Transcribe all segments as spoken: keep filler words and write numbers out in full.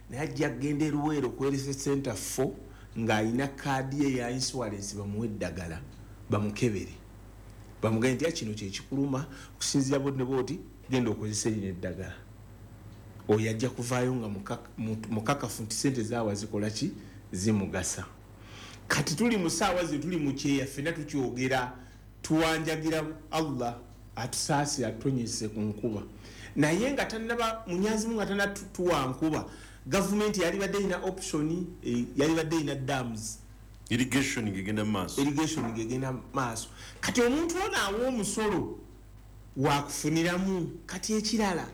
Naye ajja kugenda e Luweero ku health center four ng'alina kaadi ye ya insurance, bamuwe eddagala, bamukebere, bamugambe nti, "Kino kyekikuluma, okusinziira boti ne boti, genda okozesa erino eddagala." Oyo ajja kuvaayo nga mukakafu nti sente zaawa zikola ki, zimugasa. Kati tuli mu saawa ze tuli mu kyeya, ffenna tukyogera, tuwanjagira Allah atusaasire, atutonyese ku nkuba. Naye nga tanaba munyazimu, nga tanatuwa nkuba, gavumenti yalibadde erina option, eh, yalibadde erina dams. Irrigation ngegenda mu maaso. Irrigation ngegenda maaso. Kati omuntu ono awa omusolo wakufuniramu. Kati ekirala,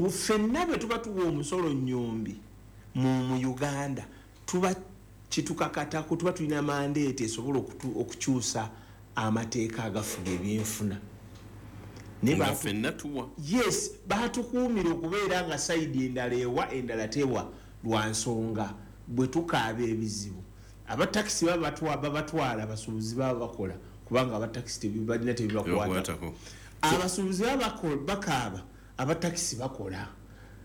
ffenna bwe tuba tuwa omusolo nyombi mu, mu Uganda, tuba kitukakatako, tuba tulina mandate esobola okukyusa amateeka agafuga ebyenfuna. Nga ffenna tuwa. Yes, batukuumira okubeera nga side endala ewa, endala tewa, lwa nsonga bwe tukaaba ebizibu, abatakisi babatwala, abasuubuzi baba bakola, kubanga abatakisi balina tebibakwatako. Abasuubuzi baba bakaaba, abatakisi bakola,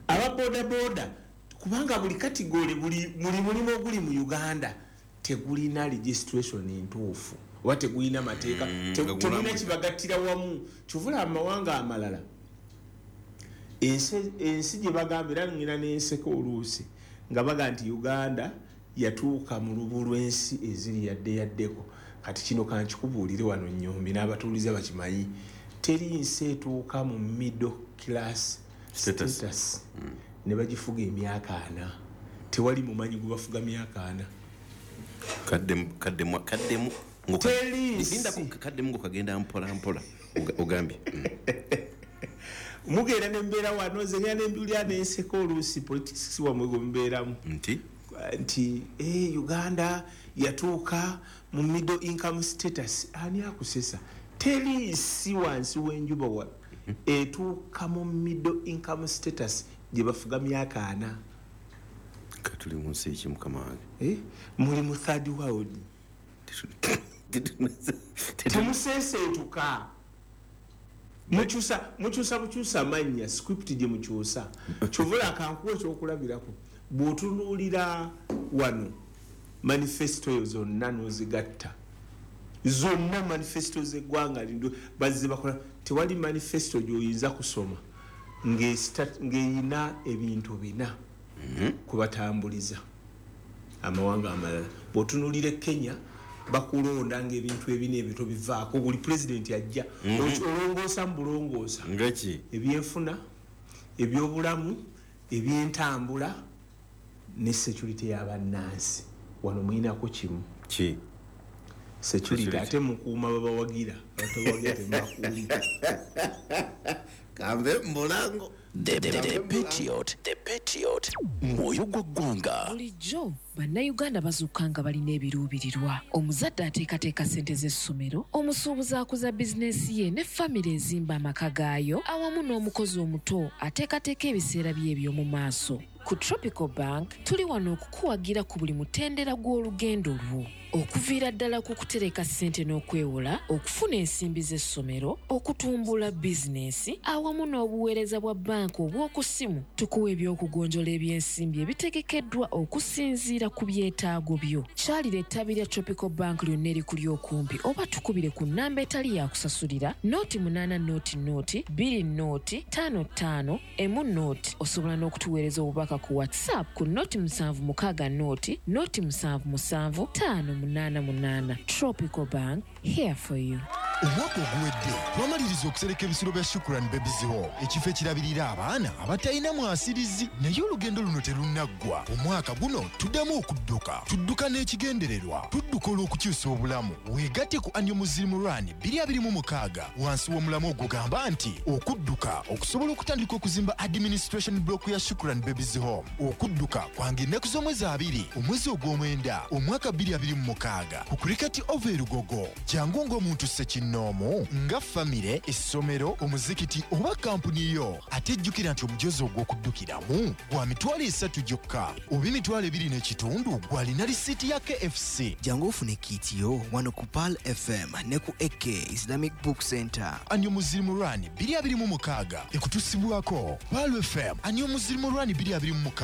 ababodaboda, kubanga buli category, buli mulimu oguli mu Uganda tegulina registration ntuufu oba tegulina mateeka, mm, tegulina kibagattira wamu. Kyovula amawanga amalala, ensi gye bagamba, era ngina n'enseko oluusi nga baga nti Uganda yatuuka mu lubu lw'ensi eziri yadde yaddeko. Kati kino kankikubuulire wano nyombi, n'abatuuliza bakimanyi, teri nsi etuuka mu middle class status, status. Mm. Ne bagifuga emyaka ana. Tewali mumanyi gwe bafuga myaka ana. Kaddemu, kaddemu, kaddemu. Teri. Kaddemu ng'okagenda mpola mpola, ogambye. Mm. Mugenda nembeera wano, nze ngenda nembiwulira nenseka oluusi politics wamwe gwe mubeeramu. Nti? Nti eh, Uganda yatuuka mu middle income status. Ani akusesa? Teri nsi wansi w'enjuba wa etuuka mu middle income status gye bafuga myaka ana. Katuli mu nsi ki, mukama wange? Eh? Muli mu third world. Temuseeseetuka, mukyusa mukyusa bukyusa amannya, script gye mukyusa. Kyovula akankuwa ekyokulabirako, bw'otunuulira wano manifesto eyo zonna n'ozigatta zonna, manifesto z'eggwanga lindo bazze bakola, tewali manifesto gy'oyinza kusoma ng'eyina ebintu bina mhm. kubatambuliza amawanga amalala. Bw'otunuulira e Kenya, bakulonda ngaebintu ebina ebyo tobivaako. Buli pulezidenti ajja, mhm. olongoosa mu bulongoosa. Ngaki? Ebyenfuna, ebyobulamu, ebyentambula ne security y'abannansi. Wano muyinako kimu. Ki? Security. Ate mukuuma babawagira, abatabawagira temubakuuma. Kambe mbulango. The, the, the Patriot, The Patriot, mwoyo gwa ggwanga. Bulijjo Bannayuganda bazuuka nga balina ebiruubirirwa. Omuzadde ateekateeka ssente z'essomero, omusuubuzi akuza bizinensi ye, ne famire ezimba amaka gaayo, awamu n'omukozi omuto ateekateeka ebiseera bye eby'omu maaso. Ku Tropical Bank tuli wano okukuwagira ku buli mutendera gw'olugendo lwo, okuviira ddala ku kutereka ssente n'okwewola, okufuna ensimbi z'essomero, okutumbula bizinensi, awamu n'obuweereza bwa banka obw'oku ssimu. Tukuwa ebyokugonjola ebyensimbi ebitegekeddwa okusinziira ku byetaago byo. Kyalira ettabi lya Tropical Bank lyonna erikuli okumpi, oba tukubire ku nnamba etali yakusasulira, nought munaana nought nought bbiri nought ttaano ttaano emu nought. Osobola n'okutuweereza obubaka ku WhatsApp ku nought musanvu mukaaga nought nought musanvu musanvu ttaano munaana munaana. Tropical Bank, here for you. Omwaka oguwedde twamaliriza okusereka ebisulo bya Shukran Babies Home, ekifo ekirabirira abaana abatalina mwasirizi. Naye olugendo luno terunnaggwa. Omwaka guno tuddamu okudduka. Tudduka n'ekigendererwa, tudduka olw'okukyusa obulamu. Weegatte ku Annual Muslim Run twenty twenty-six wansi w'omulamwa ogugamba nti okudduka okusobola okutandika okuzimba administration block ya Shukran Babies Home. Okudduka kwanga ennaku z'omwezi abiri, omwezi ogw'omwenda, omwaka twenty twenty-six, ku Cricket Oval e Lugogo. Jangu ng'omuntu ssekinnoomu, nga famire, essomero, omuzikiti oba kampuni yo. Ate jjukira nti omujozi ogw'okuddukiramu gwa mitwalo esatu gyokka oba emitwalo ebiri n'ekitundu gw'alina risiiti ya K F C. Jangu ofune kit yo wano ku Pearl F M ne ku A K Islamic Book Center. Annual Muslim Run twenty twenty-six ekutusibwako Pearl F M. Annual Muslim Run twenty twenty-six.